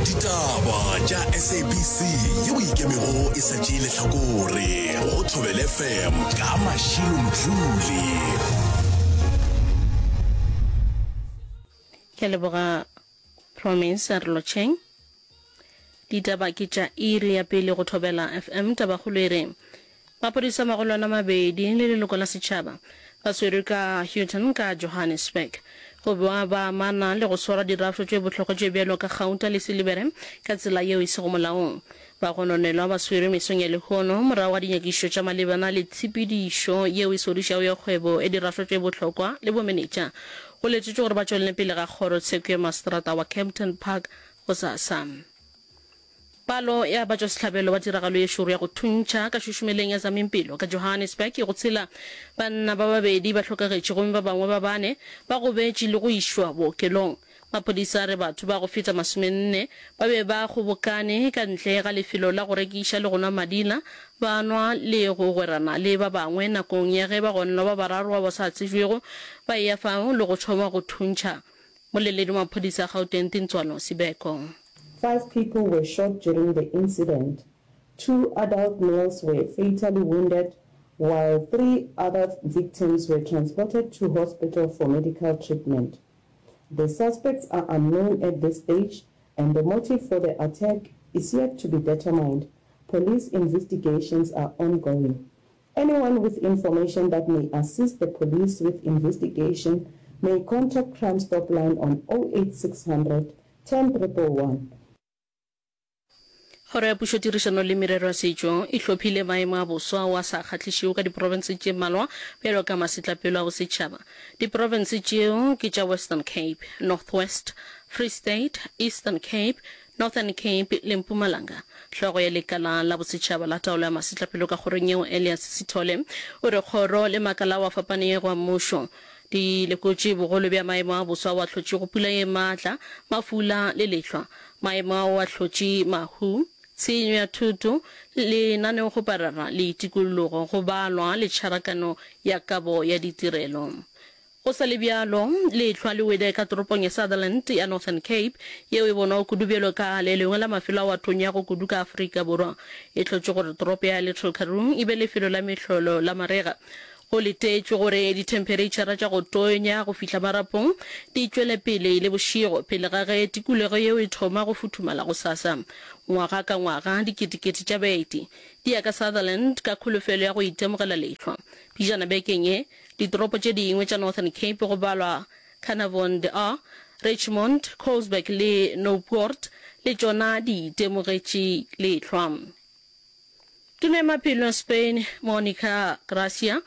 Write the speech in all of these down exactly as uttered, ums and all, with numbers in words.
Ditaba tša S A B C yeo e ikemego e sa tšee lehlakore go Thobela F M ka Mashilo Mdluli. Ke a leboga Promise a re lotšheng. Ditaba ke tša iri ya pele go Thobela F M. Tabakgolo e re maphodisa magolwane a mabedi le leloko la setšhaba ba swerwe ka Houghton ka Johannesburg go ba ba amana le go swara dirafšo tše bohlokwa tše bjalo ka gauta le silibere ka tsela yeo e sego molaong. Bagononelwa ba swerwe mesong ya lehono morago ga dinyakišišo tša malebana le tshepedišo yeo e sodišago ya kgwebo ya dirafšo tše bohlokwa le bomenetša. Go letetšwe gore ba tšwelele pele ga kgorotsheko ya maseterata wa Kempton Park gosasa. Palo ya batšwasehlabelo ba tiragalo ye šoro ya go thuntšha ka šušumeleng ya Zamimpilo ka Johannesburg e go tshela. Banna ba babedi ba hlokagetše gomme ba bangwe ba bane ba gobetše le go išwa bookelong. Maphodisa a re batho ba go feta masomenne ba be ba kgobokane ka ntle ga lefelo la go rekiša le go nwa madila, ba nwa le go gwerana le ba bangwe nakong ya ge bagononelwa ba bararo bao ba sa tsebjwego ba eya fao le go thoma go thuntšha. Moleledi wa maphodisa a Gauteng Tintswalo Sibeko. Five people were shot during the incident. Two adult males were fatally wounded while three other victims were transported to hospital for medical treatment. The suspects are unknown at this stage and the motive for the attack is yet to be determined. Police investigations are ongoing. Anyone with information that may assist the police with investigation may contact Crime Stop Line on oh eight six hundred ten triple one. Kgoro ya Pušo Tirišano le Merero ya Setšo e hlophile maemo a boswa ao a sa kgahlišego ka diprofense tše mmalwa bjalo ka masetlapelo a bosetšhaba. Diprofense tšeo ke tša Western Cape, North West, Free State, Eastern Cape, Northern Cape le Mpumalanga. Hlogo ya Lekala la Bosetšhaba la Taolo ya Masetlapelo ka kgorong yeo Elias Sithole o re kgoro le makala ao a fapanego a mmušo di lekotše bogolo bja maemo a boso ao a hlotšego pula ye maatla, mafula le lehlwa. Maemo ao a hlotše mahu, tshenyo ya thoto, lenaneokgoparara le tikologo, go balwa le tšharakano ya kabo ya ditirelo. Go sa le bjalo, lehlwa le wele ka toropong ya Sutherland ya Northern Cape, yeo e bonwago kudu bjalo ka le lengwe la mafelo ao a tonyago kudu ka Afrika Borwa. E hlotše gore toropo ya Little Karoo e be lefelo la mehlolo la marega. Go letetšwe gore dithemphereitšhara tša go tonya go fihla marapong di tšwele pele le bošego pele ga ge tikologo yeo e thoma go futhumala gosasa. Ngwaga ka ngwaga, diketekete tša baeti di ya ka Sutherland ka kholofelo ya go itemogela lehlwa. Pejana bekeng ye, Ditoropo tše dingwe tša Northern Cape go balwa Carnarvon De Aar, Richmond, Colesberg le Noupoort le tšona di itemogetše lehlwa. Tona ya Maphelo ya Spain, Monica Gracia,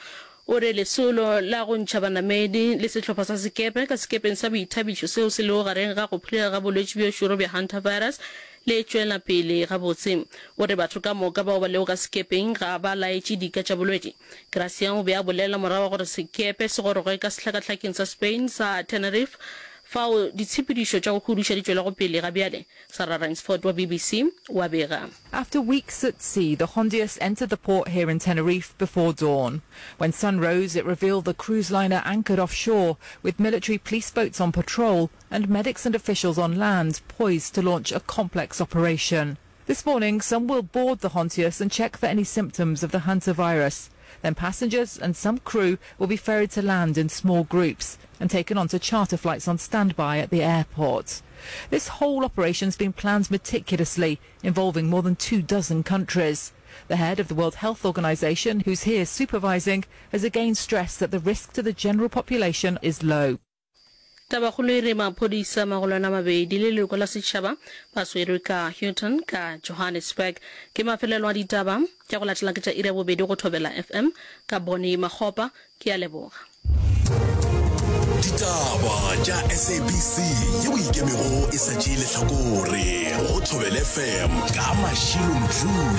o re lesolo la go ntšha banamedi le sehlopha sa sekepe ka sekepeng sa boithabišo seo se lego gareng ga go phulega ga bolwetši bjo šoro bja hantavirus le tšwela pele gabotse. O re batho ka moka bao ba lego ka sekepeng ga ba laetše dika tša bolwetši. Gracia o be a bolela morago ga gore sekepe se goroge ka sehlakahlakeng sa Spain sa Tenerife, fao ditshepedišo tša go huduša di tšwelago pele ga bjale, Sarah Rainsford wa B B C o a bega. After weeks at sea, the Hondius entered the port here in Tenerife before dawn. When sun rose, it revealed the cruise liner anchored offshore, with military police boats on patrol and medics and officials on land poised to launch a complex operation. This morning, some will board the Hontius and check for any symptoms of the hantavirus. Then passengers and some crew will be ferried to land in small groups and taken onto charter flights on standby at the airport. This whole operation's been planned meticulously, involving more than two dozen countries. The head of the World Health Organization, who's here supervising, has again stressed that the risk to the general population is low. Tabakgolo e re maphodisa magolwane a mabedi le leloko la setšhaba ba swerwe ka Houghton ka Johannesburg. Ke mafelelo a ditaba tša go latela ke tša iri ya bobedi go Thobela F M ka Bonnie Makgopa. Ke a leboga. Ditaba tša S A B C yeo e ikemego e sa tšee lehlakore go Thobela F M ka Mashilo Mdluli.